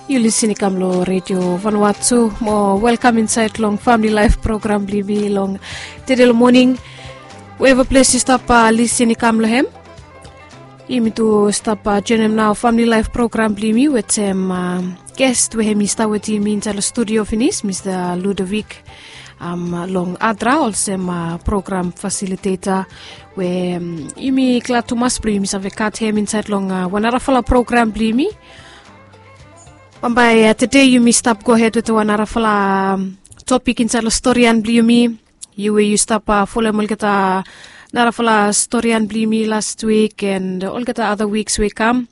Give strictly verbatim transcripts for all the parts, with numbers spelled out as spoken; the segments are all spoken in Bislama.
Yu lisin i kam long redio Vanuatu mo welkam insaet long famili laef program blong yumi long tede long moning. Weva ples yu stap lisin i kam long hem, yumi tu stap joenem nao famili laef program blong yumi wetem ges we hem i stap wetem yumi insaet long studio finis, Mista Ludovic long Adra olsem program fasiliteta, we yumi glad tumas blong yumi save gat hem insaet long wan narafala program blong yumi. Bambae tede yumi stap gohed wetem wan narafala topik insaet long storian blong yumi. Yu we yu stap folem olgeta narafala storian blong yumi last wik and olgeta ada wiks we i kam.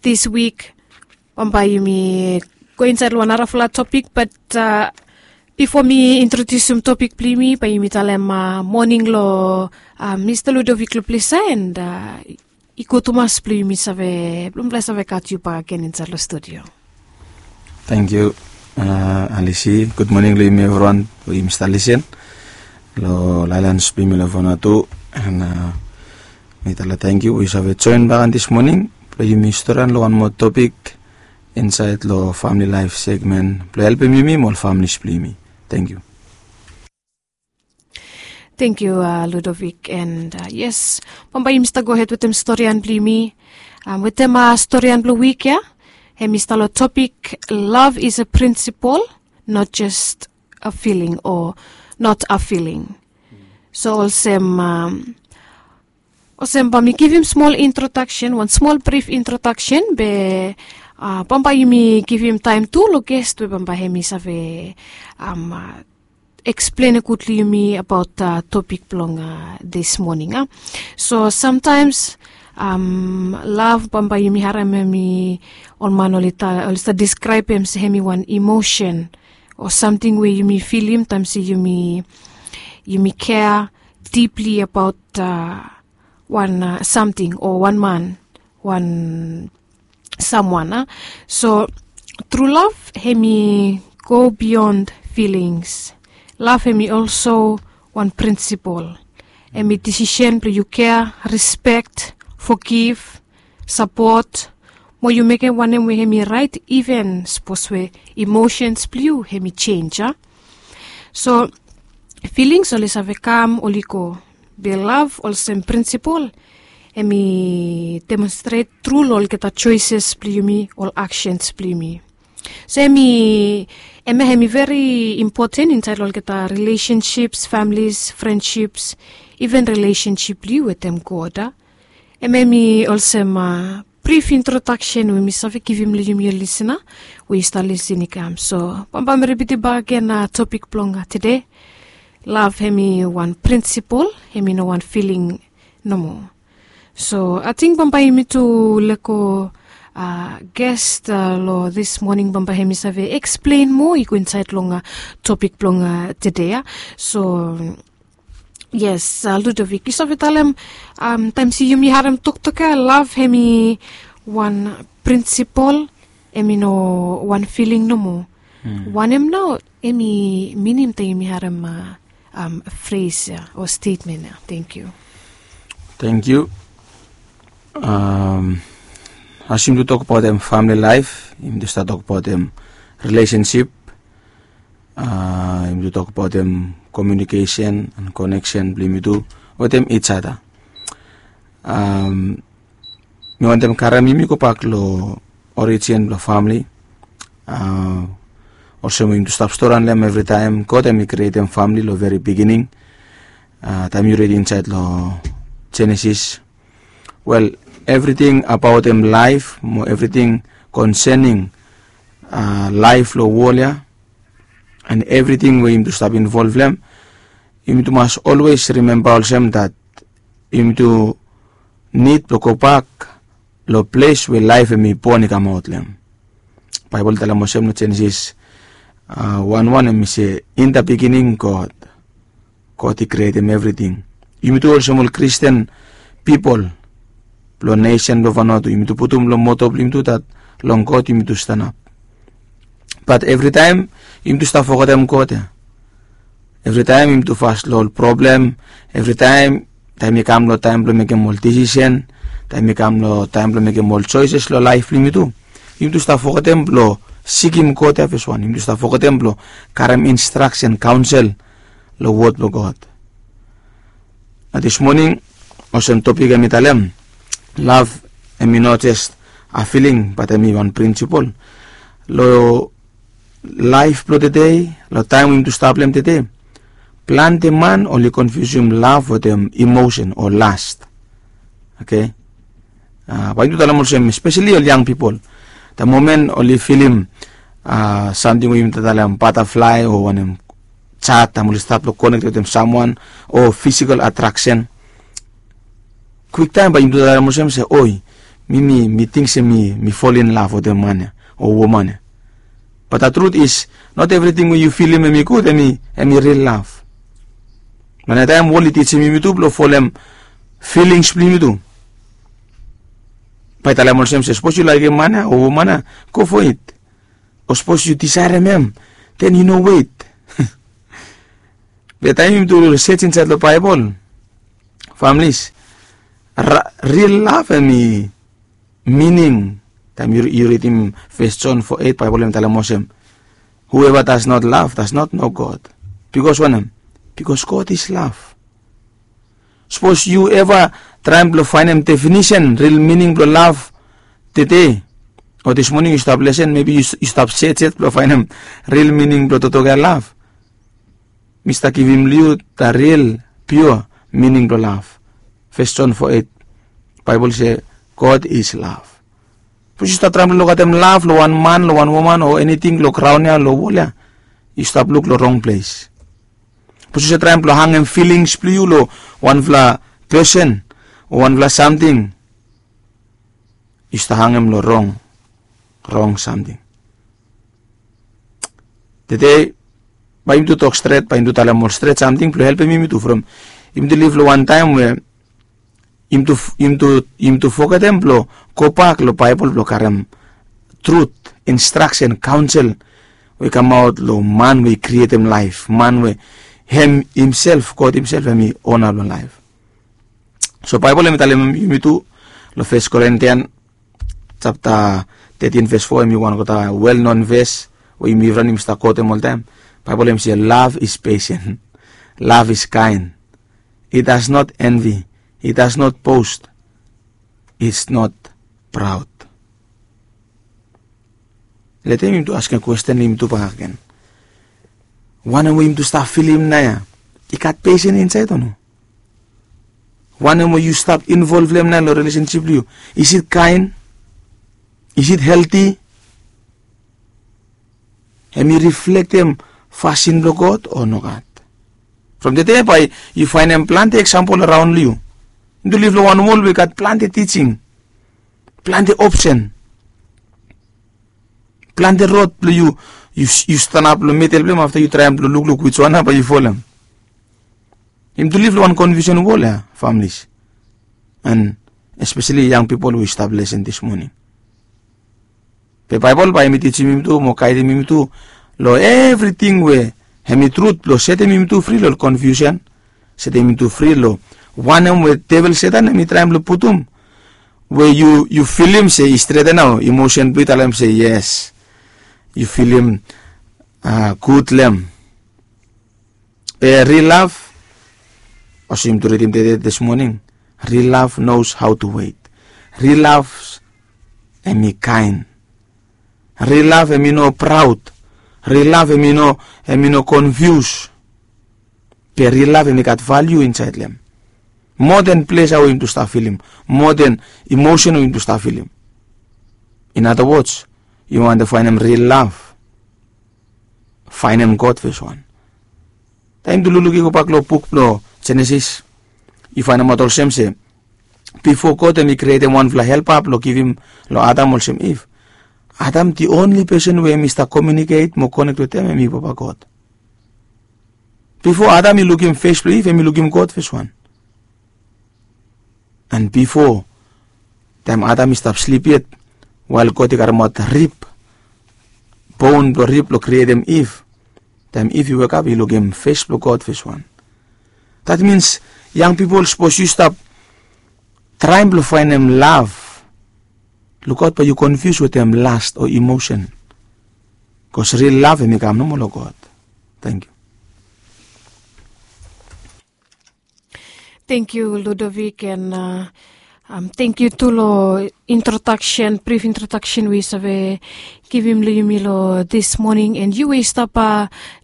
Dis wik bambae yumi go insaet long wan narafala topik, bat bifo mi introdiusim topik blong yumi, bae yumi talem moning long Mista Ludovic long ples ya, and i gud tumas blong yumi save, blong yumi save gat yu bakegen insaet long studio. Tangkiu, Alisi. Gud moning long yumi evriwan we yumi stap lisin long laelans blong yumi long Vanuatu. And mi talem tangkiu we yu save joen bakegen dis moning blong yumi storian long wan moa topik insaet long famili laef segmen blong helpem yumi mo ol familis blong yumi. Tangkiu. Tangkiu, Ludovic. And yes, bambae yumi stap gohed wetem storian blong yumi. Wetem storian blong wik ya, hem i stap long topik, love is a principle, not just a feeling, o not a feeling. So olsem, olsem bae mi givim smol introdaksen, wan smol brif introdaksen, be bambae yumi givim taem tu long ges we bambae hem i save eksplen gud long yumi abaot topik blong dis moning. So samtaems lav, bambae yumi harem hem i, ol man oli stap diskraebem se hem i wan emosen o samting we yumi filim taem se yumi kea dipli abaot wan samting o wan man, wan samwan. So tru lav hem i go bion filings. Lav hem i olso wan prinsipol. Hem i disisen blong yu kea, rispek, fogiv, sapot, mo yu mekem wanem we hem i raet, iven sapos we emosens blong yu hem i jenj. So filings oli save kam, oli go, be lav olsem prinsipol hem i demonstret tru long olgeta joeses blong yumi, ol aksens blong yumi. So hem i, hem ya hem i veri impoten insaed long olgeta rilesensip, familis, frendsip, iven rilesensip blong yu wetem God. Hem hem i olsem brif introdaksen we mi save givim long yumi ol lisina we yu stap lisin i kam. So bambae mi ripitim bakegen topik blong tede. Lav hem i wan prinsipol, hem i no wan filing nomo. So ating bambae yumi tu lego ges long dis moning, bambae hem i save eksplen moa, i go insaed long topik blong tede ya. So yes, Ludovic, yu save talem, taem se yumi harem toktok ya, lav hem i wan prinsipol, hem i no wan filing nomo. Wanem nao hem i minim taem yumi harem fres ya o stetmen ya? Tangkiu. Tangkiu. As yumi tu tokbaotem famili laef, yumi tu stap tokbaotem rilesensip, yumi tu tokbaotem komiunikesen and koneksen blong yumi tu wetem ij ada. Mi wantem karem yumi gobak long orijin blong famili. Olsem we yumi tu stap stori long hem evritaem, God hem i krietem famili long veri bigining. Taem yu rid insaed long Jenesis, wel, evriting abaotem laef mo evriting konsening laef long wol ya, and evriting we yumi tu stap involv long hem, yumi tu mas olwes rimemba olsem dat yumi tu nid blong gobak long ples we laef hem i bon i kamaot long hem. Baebol i talem olsem long Jenesis wan wan, hem i se, in the beginning God. God i krietem evriting. Yumi tu olsem ol Kristin pipol blong nesen blong Vanuatu, yumi tu putum long moto blong yumi tu dat long God yumi tu stanap. Bat evritaem yumi tu stap fogetem God ya. Evritaem yumi tu fas long ol problem. Evritaem, taem i kam long taem blong mekem ol disisen, taem i kam long taem blong mekem ol joeses long laef blong yumi tu, Yumi tu stap fogetem blong sikim God ya fes wan. Yumi tu stap fogetem blong karem instraksen, kaonsel long wod blong God. Na dis moning, olsem topik em i talem, lav em i no jes a filing, bat em i wan prinsipol. Long laef blong tede, long taem we yumi tu stap long em tede, plante man oli konfiusim lav wetem emosen o last. Oke. Bae yumi tu talem olsem, espeseli ol yang pipol, da momen oli filim samting we yumi talem bataflae o wanem, jat, taem oli stap long konek wetem samwan, o fisikol atraksen, kwiktaem bae yumi tu talem olsem se, oi, mi mi mi ting se mi mi fol in lav wetem man ya o woman ya. Bat da trut is, not evriting we yu filim em i gud em i ril lav. Mane taem wol i tijim yumi tu blong folem filings blong yumi tu, bae i talem olsem se sapos yu laekem man ya o woman ya, go fo it. O sapos yu disaerem em, den yu no wet. Be taem yumi tu sej insaed long Baebol, familis, ril lav em i mining. Taem yu ridim fes Jon fo eit, Baebol em i talem olsem, whoever does not love does not know God. Bikos wanem? Bikos God is lav. Sapos yu eva traem blong faenem definisen ril mining blong lav tede, o dis moning yu stap lesen, mebi yu stap sej yet blong faenem ril mining blong toktok ya lav. Mi stap givim long yu da ril piua mining blong lav. Fes Jon fo eit, Baebol se, God is love. Sapos yu stap traem blong lukaotem lav long wan man, long wan woman o eniting long graon ya, long wol ya, yu stap luk long rong ples. Sapos yu stap traem blong hangem filings blong yu long wanfala pesen o wanfala samting, yu stap hangem long rong, rong samting. Tede bae yumi tu tok stret, bae yumi tu talem ol stret samting blong helpem yumi tu from yumi tu liv long wan taem we yumi tu fogetem blong gobak long Baebol blong karem trut, instraksen, kaonsel we i kamaot long man we i krietem laef, man we hem himself, God himself hem i ona blong laef. So Baebol hem i talem yumi tu long Fes Korintian japta tetin ves fo, hem i wan gud welnon ves we yumi evriwan yumi stap kotem oltaem. Baebol hem i se, love is patient, love is kind, it does not envy, it does not boast, it's not proud. Letem yumi tu askem kwesten long yumi tu bakegen, wanem we yumi tu stap filim naoia, i gat pesen insaed o no? Wanem we yu stap involv long hem naoia long rilesensip blong yu, is it kaen? Is it helti? Hem i riflektem fasin blong God o nogat? From tede bae yu faenem plante eksampol araon long yu. Yumi tu liv long wan wol we i gat plante tijing, plante opsen, plante rod blong yu, yu stanap long midel blong hem afta yu traem blong lukluk wiswan nao bae yu folem. Yumi tu liv long wan konfiusen wol ya, familis, and espeseli yang pipol we i stap lesen dis moning. Be Baebol bae hem i tijim yumi tu mo gaedim yumi tu long evriting we hem i trut blong setem yumi tu fri long ol konfiusen, setem yumi tu fri long wanem we devel Setan hem i traem blong putum, we yu filim se i streten nao, emosen blong yu talem se yes, yu filim gud long hem. Be ril lav, olsem yumi tu ridim tede dis moning, ril lav knows how to wait. Ril lav hem i kaen. Ril lav hem i no praod. Ril lav hem i no, hem i no konfius. Be ril lav hem i gat valiu insaed long hem, moa den plesa we yumi tu stap filim, moa den emosen we yumi tu stap filim. In other words, yu wantem faenem ril lav, faenem God fes wan. Taem yumi tu lukluk i gobak long buk blong Jenesis, yu faenemaot olsem se bifo God hem i krietem wanfala helpa blong givim long Adam olsem Iv, Adam, the only person we hem i stap komiuniket mo konek wetem hem i Papa God. Bifo Adam i lukim fes blong Iv, hem i lukim God fes wan. And bifo, taem Adam i stap slip yet, wael God i karemaot rib, bon blong rib blong krietem Iv, taem Iv i wekap i lukim fes blong God fes wan. Dat mins, yang pipol, sapos yu stap traem blong faenem lav Lukaot bae yu konfius wetem last o emotion. Bikos ril lav hem i kam nomo long God. Tangkiu. Tangkiu Ludovic, and tangkiu tu long introdaksen, brif introdaksen we yu save givim long yumi long dis moning, and yu we yu stap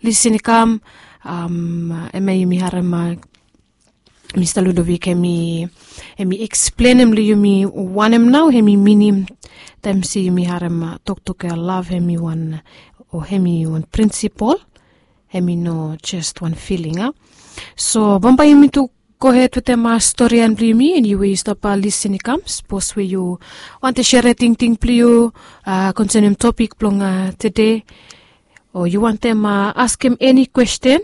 lisin i kam. Hemia yumi harem Mista Ludovic hem i eksplenem long yumi wanem nao hem i minim taem se yumi harem toktok ya, lav hem i wan, o hem i wan prinsipol. Hem i no jes wan filing a. So bambae yumi tu gohed wetem storian blong yumi, and yu we yu stap lisin i kam, sapos we yu wantem serem tingting blong yu konsenem topik blong tede, o yu wantem askem eni kwesten,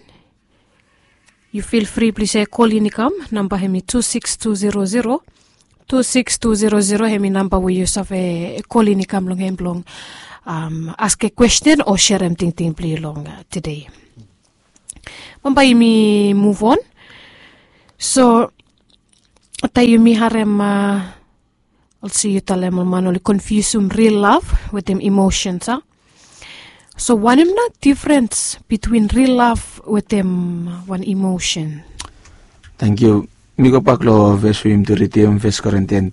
yu fil fri blong yu save kolin i kam. Namba hem i tu sikis tu zero zero, tu sikis tu zero zero hem i namba we yu save kolin i kam long hem blong askem kwesten o serem tingting blong yu long tede. Bambae yumi muv on. So taem yumi harem, olsem yu talem, ol man oli konfiusim ril lav wetem emosens a. So wanem nao difrens bitwin ril lav wetem wan emosen? Tangkiu. Mi gobak long ves we yumi tu ridim, Fes Korintians,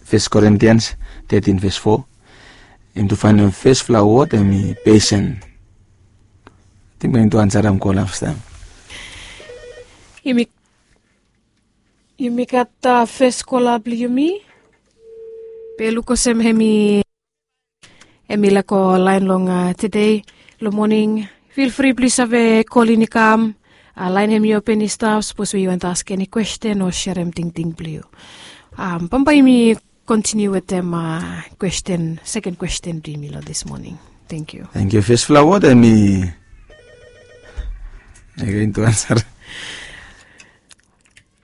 Fes Korintians tetin ves fo. Yumi tu faenem fesfala wod hem i pesen. Ating bae yumi tu ansarem kola fastaem. Yumi Yumi gat fes kola blong yumi. Be luk olsem hem i hem i laek go laen long tede long moning. Fil fri blong yu save kolin i kam. Laen hem i open i stap, sapos we yu wantem askem eni kwesten o serem tingting blong yu. Bambae yumi kontiniu wetem kwesten, seken kwesten blong yumi long dis moning. Tangkiu. Tangkiu. Fesfala wod hem i, agen tu ansarem.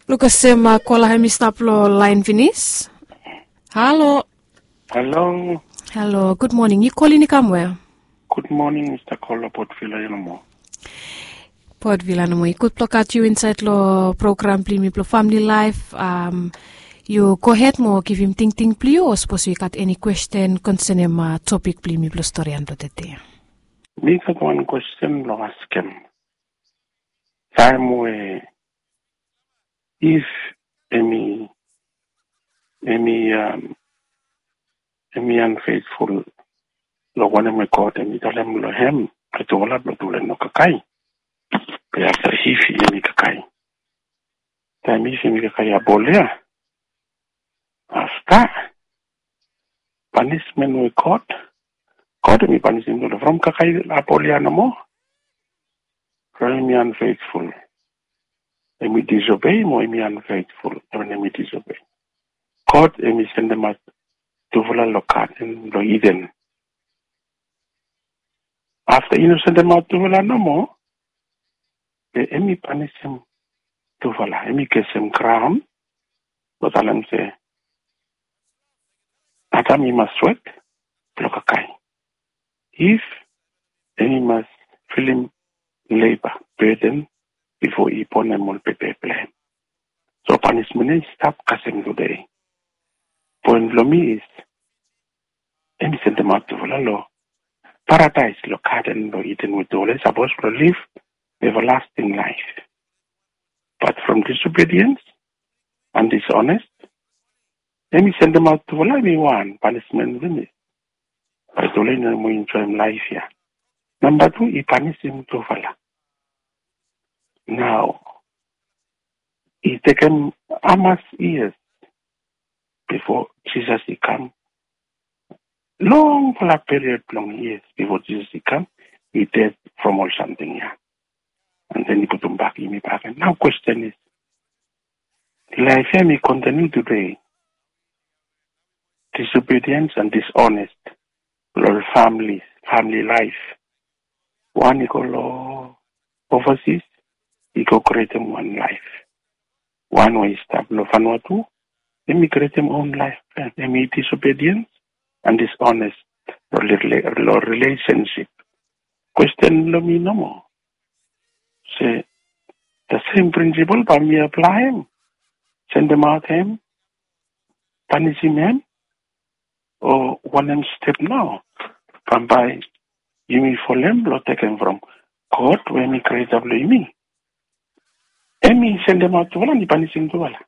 Luk olsem kola hem i stap long laen finis. Halo. Halo. Halo, gud moning. Yu kolin i kam we? Gud moning, Mista Kola, Port Vila, yu nomo. Port Vila nomo. I gud blong gat yu insaed long program blong yumi blong famili laef. Yu gohed mo givim tingting blong yu, o sapos yu gat eni kwesten konsenem topik blong yumi blong storian blong tede. Mi gat wan kwesten blong askem. Taem we Iv hem i, hem i, hem i unfaithful long wanem we God hem i talem long hem, long tufala blong tufala i no kakae. Be afta Iv hem i kakae. Taem Iv hem i kakae apol ya, afta panismen we God, God hem i panisim tufala from kakae apol ya nomo. From hem i unfaithful, hem i disobei mo hem i unfaithful, taem hem i disobei, God hem i sendemaot tufala long gaden blong Iden. Afta i no sendemaot tufala nomo, be hem i panisim tufala, hem i gesem graon blong talem se Adam i mas wok blong kakae. Iv hem i mas filim leba, beden, bifo i bonem ol bebe blong hem. So panismen ya i stap kasem tede. Poen blong mi is, hem i sendemaot tufala long paradaes, long gaden blong Iden we tufala i sapos blong liv evalasting laef. Bat from disobediens and disonest, hem i sendemaot tufala, hem i wan panismen finis. Bae tufala i no moa enjoem laef ya. Namba tu, i panisim tufala. Nao i tekem hamas yias bifo Jisas i kam? Longfala period blong yias bifo Jisas i kam, i ded from ol samting ya. And then i putum bak yumi bakegen. Nao kwesten is, laef ya hem i kontiniu tede. Disobediens and disonest long famili, famili laef. Wan i go long ovasis, i go krietem wan laef. Wan we i stap long Vanuatu, hem i krietem own laef blong hem. Hem i disobediens and disonest long rilesensip. Kwesten blong mi nomo se, the same principle bae mi aplaem, sendemaot hem, panisim hem, o wanem step nao bambae yumi folem blong tekem from God we hem i Kreta blong yumi? Hem i sendemaot tufala ni panisim tufala.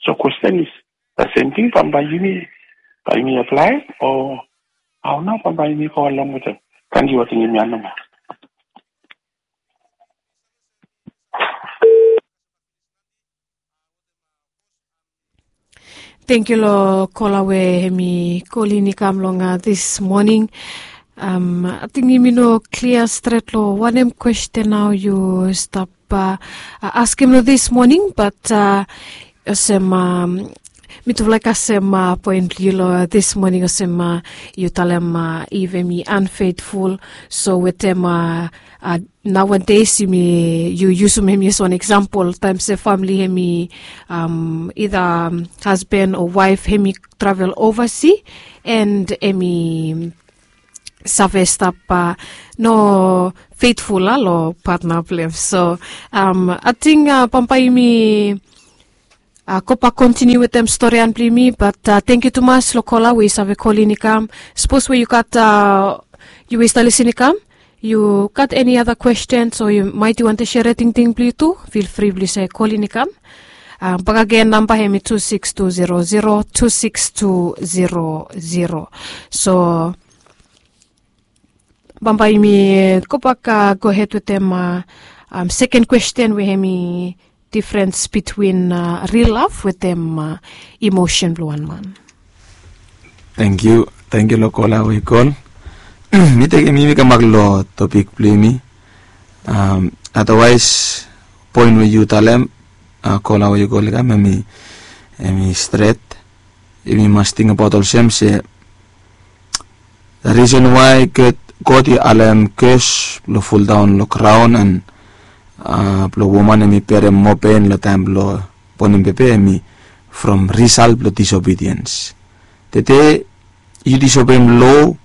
So kwesten is, the same thing bambae yumi, bae yumi aplae o hao nao bambae yumi go along wetem? Tangkiu, ating hemia namba. Tangkiu long kola we hem i kolin i kam long dis moning. Ating yumi no klia stret long wanem kwesten nao yu stap askem long dis moning, bat olsem mitufala i kasem poen blong yu long dis moning, olsem yu talem if hem i unfaithful, so wetem nowadays yumi, yu yusum hem i as wan eksampol, taem se famili hem i, ida hasban o waef hem i travel ovasi, and hem i save stap no feitful long patna blong hem. So ating bambae yumi gobak kontiniu wetem storian blong yumi, bat tangkiu tumas long kola we yu save kolin i kam. Sapos we yu gat, yu we yu stap lisin i kam, yu gat eni ada kwestens o yu maet yu wantem serim tingting blong yu tu, fil fri blong yu save kolin i kam. Bakagen namba hem i tu sikis tu zero zero tu sikis tu zero zero. So bambae yumi gobak gohed wetem seken kwesten we hem i difrens bitwin ril lav wetem emosen blong wan man. Tangkiu, tangkiu long kola we i kol. Mi tekem yumi kambak long topik blong yumi. Adawaes, poen we yu talem, kola we i kol i kam, hem i stret. Yumi mas tingbaot olsem se the reason why God i alem kos blong foldaon long graon and blong woman hem i berem moa pen long taem blong bonem bebe hem i from risalt blong disobediens. Tede yu disobeim lo,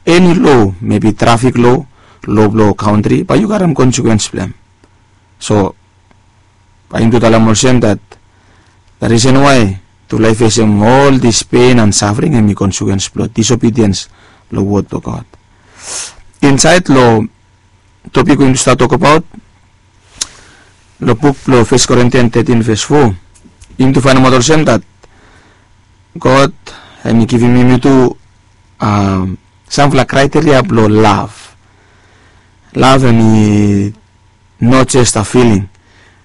eni lo, mebi trafik lo, lo blong kaontri, bae yu karem konsekwens blong hem. So bae yumi tu talem olsem that the reason why tufala i fesem ol dis pen and safring hem i konsekwens blong disobediens long wod blong God. Insaed long topik we yumi tu stap tokbaot long buk blong Fes Korintian tetin ves fo, yumi tu faenemaot olsem that God hem i givim yumi tu samfala kraiteria blong lav. Lav hem i not just a filing.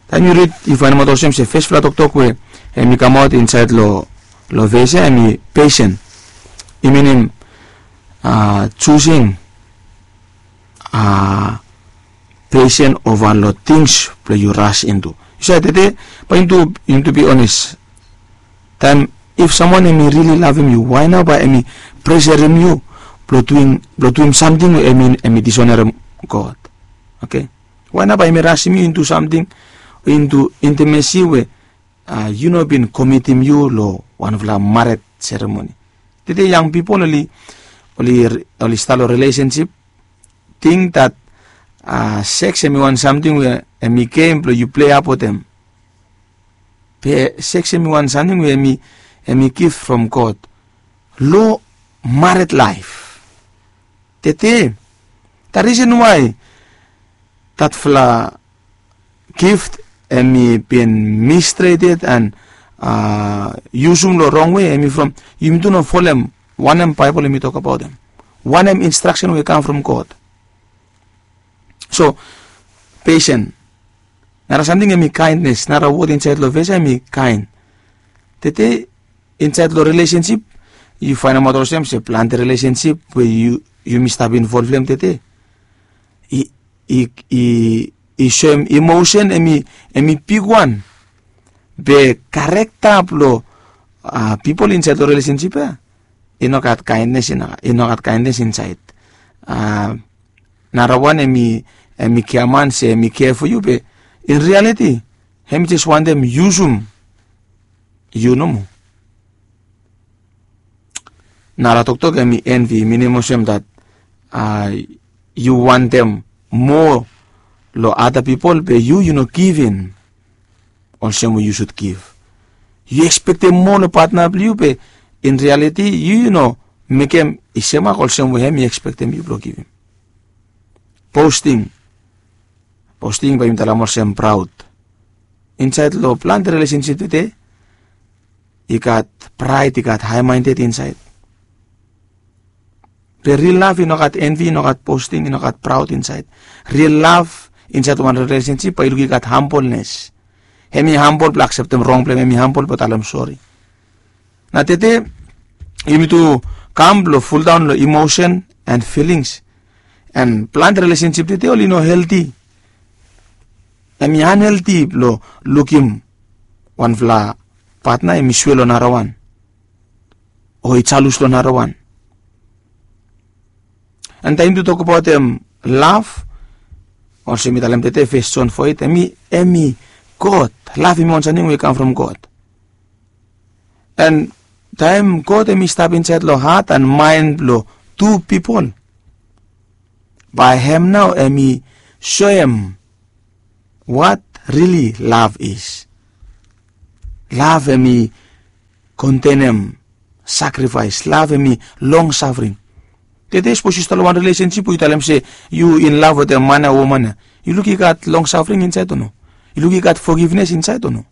Taem yu rid yu faenemaot olsem se fesfala toktok we hem i kamaot insaed long ves ya hem i pesen. I minim jusing pesen ova long tings blong yu ras intu. Yu save tede bae yumi tu bi ones, taem if samwan hem i rili lavem yu, wae nao bae hem i preserem yu blong duim samting we hem i disonerem God? Oke. Wae nao bae hem i rasim yu intu samting, intu intimesi we yu no bin komitim yu long wanfala mared seremoni? Tede yang pipol oli oli oli stap long rilesensip ting that seks hem i wan samting we hem i gem blong yu plei ap wetem. Be seks hem i wan samting we hem i gif from God long mared laef. Tede the reason why datfala gift hem i bin mistreted and yusum long rong wei hem i from yumi tu no folem wanem Baebol hem i tokbaot hem, wanem instraksen we i kam from God. So pesen, nara samting hem i kaendnes. Nara wod insaed long ves ya hem i kaen. Tede insaed long rilesensip yu faenemaot olsem se plante rilesensip we yumi stap involv long hem tede i soem emosen hem i bigwan. Be karekta blong pipol insaed long rilesensip ya i no gat kaendnes, i no gat kaendnes insaed. Narawan hem i giaman se hem i kea fo yu be in rialiti hem i jes wantem yusum yu nomo. Nara toktok hem i envi, minim olsem dat yu wantem moa long ada pipol be yu yu no givim olsem we yu sud giv. Yu ekspektem moa long patna blong yu be in rialiti yu yu no mekem i semak olsem we hem i ekspektem yu blong givim. Posting. Posting bae yumi talem olsem praod. Insaed long plante rilesensip tede i gat praed, i gat haemaended insaed. Be ril lav i no gat envi, i no gat posting, i no gat praod insaed. Ril lav insaed long wan rilesensip bae yu luk i gat hambolnes. Hem i hambol blong akseptem rong blong hem, hem i hambol blong talem sori. Nao tede yumi tu kam blong fuldaon long emotion and feelings. And plante rilesensip tede oli no helti. Hem i anhelti blong lukim wanfala patna hem i swe long narawan o i jalus long narawan. And taem yumi tu tokbaotem lav, olsem mi talem tede, Fes Jon fo eit, hem i, hem i God. Lav hem i wan samting we i kam from God. And taem God hem i stap insaed long hat and maen blong tu pipol, bae hem nao hem i soem what really love is. Lav hem i kontenem sakrifaes. Lav hem i longsafring. Tede sapos yu stap long wan rilesensip we yu talem se yu in lav wetem man ya o woman ya, yu luk i gat longsafring insaed o no? Yu luk i gat fogivnes insaed o no?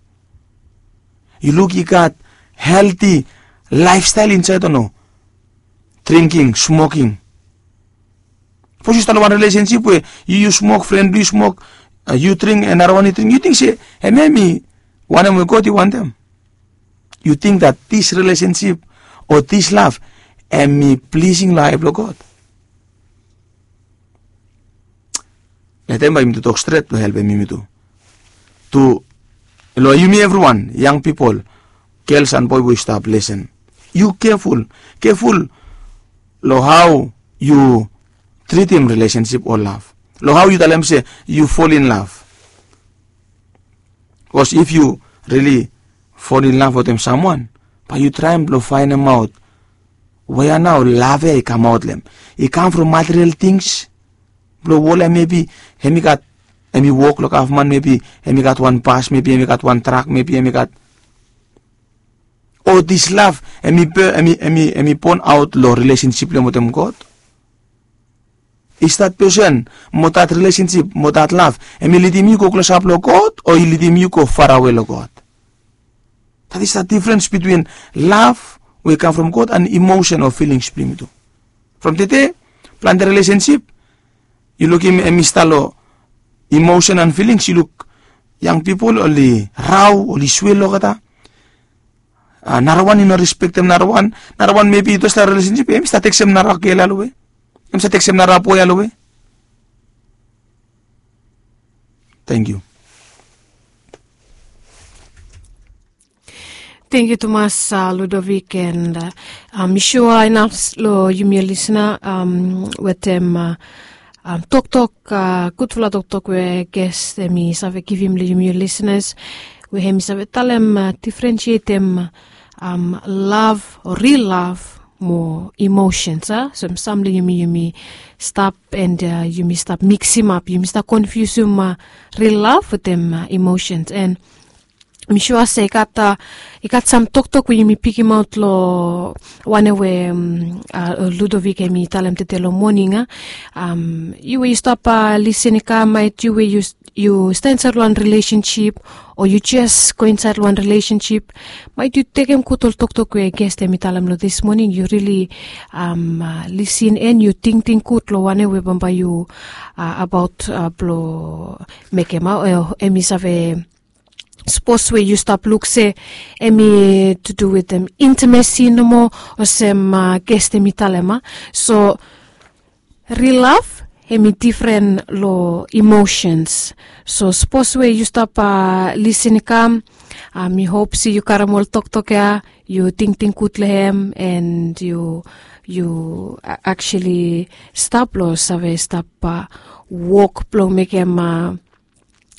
Yu luk i gat helti laefstael insaed o no? Dringking, smoking. Sapos yu stap long wan rilesensip we yu, yu smok, fren blong yu smok, a, yu dring, and narawan i dring, yu ting se hemia hem i wanem we God i wantem? Yu ting that this relationship o this love hem i plising long ae blong God? Letem bae yumi tu tok stret blong helpem yumi tu. Tu long yumi evriwan, yang pipol, gels and boe we yu stap lisen, yu keful, keful long hao yu tritim rilesensip o lav, long hao yu talem se yu fol in lav. Bikos if yu rili fol in lav wetem samwan, bae yu traem blong faenemaot wea nao lav ya i kamaot long hem. I kam from material tings blong wol ya, mebi hem i gat, hem i wok long gavman, mebi hem i gat wan bas, mebi hem i gat wan trak, mebi hem i gat, o this love hem i, hem i, hem i, hem i bonaot long rilesensip blong hem wetem God? Is that person mo that relationship mo that love hem i lidim yu go klosap long God o i lidim yu go farawe long God? That is the difference between love we i kam from God and emotion o feelings blong yumi tu. From tede plante relationship yu lukim hem i stap long emotion and feelings, yu luk yang pipol oli rao, oli swil olgeta. A, narawan i no respektem narawan. Narawan mebi i tu long rilesensip, hem i stap tekstem narawan gel ya long we, hem i stap tekstem narawan boe ya long we. Tangkiu. Tangkiu tumas, a, Ludovic, and, a, mi sua inaf long yumi ol lisna, am, wetem, a, am, toktok, a, gudfala toktok we ges hem i save givim long yumi ol lisnas, we hem i save talem, a, difrensietem, am, lav o ril lav mo emosens, a? So sam long yumi, yumi stap, and, a, yumi stap miksimap, yumi stap konfiusim, a, ril lav wetem, a, emosens. And mi sua se i gat, a, i gat sam toktok we yumi pikimaot long wanem we, am, a, Ludovic hem i talem tede long moning, a? Am, yu we yu stap, a, lisen i kam, maet yu we yu, yu stap insaed long wan rilesensip o yu jes go insaed long wan rilesensip, maet yu tekem gud ol toktok we ges hem i talem long this moning, yu rili, am, a, lisen and yu tingting gud long wanem we bambae yu, a, abaot, a, blong mekem, a, o hem i save, sapos we yu stap luk se hem i to do wetem intimacy nomo, olsem, a, ges hem i talem, a? So ril lav hem i difren long emosens. So sapos we yu stap, a, lisen i kam, a, mi hop se yu karem ol toktok ya, yu tingting gud long hem, and yu, yu, a, actually stap long save stap, a, wok blong mekem, a,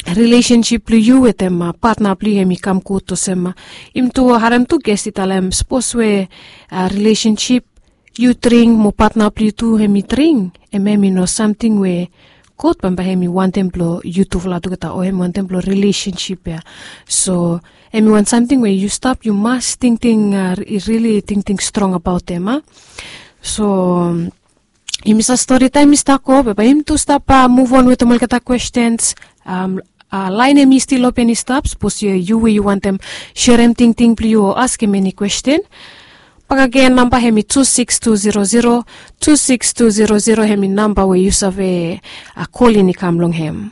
rilesensip blong yu wetem, a, patna blong yu hem i kam gud olsem, a, yumi tu harem tu ges i talem sapos we, a, rilesensip yu dring mo patna blong yu tu hem i dring, hem, hem i no samting we God bambae hem i wantem blong yutufala tugeta o hem i wantem blong rilesensip ya. So hem i wan samting we yu stap, yu mas tingting, a, rili tingting strong abaot hem, a? So yumi sa stori taem i stap go be bae yumi tu stap muv on wetem olgeta kwestens. Laen hem i stil open i stap sapos yu we yu wantem serem tingting blong yu o askem eni kwesten. Bakagen namba hem i tu sikis tu zero zero tu sikis tu zero zero hem i namba we yu save kolin i kam long hem.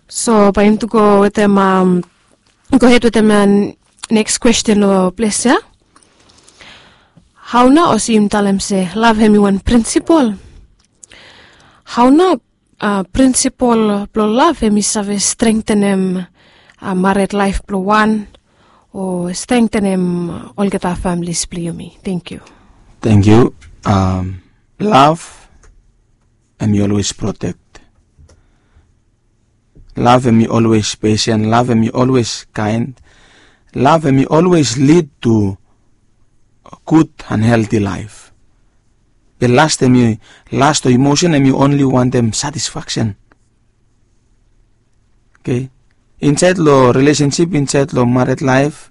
So bae yumi tu go wetem gohed wetem neks kwesten o ples ya. Hao nao olsem yumi talem se lav hem i wan prinsipol? Hao nao prinsipol blong lav hem i save strengtenem mared laef blong wan o strengtenem olgeta familis blong yumi? Tengkiu. Tengkiu. Lav hem i olwes protek. Lav hem i olwes pesen, lav hem i olwes kaen. Lav hem i olwes lid tu gud an helti laef. Be last hem i last o imosen hem i onli wantem satisfaksen. Oke. Insaed long rilesensip insaed long mared laef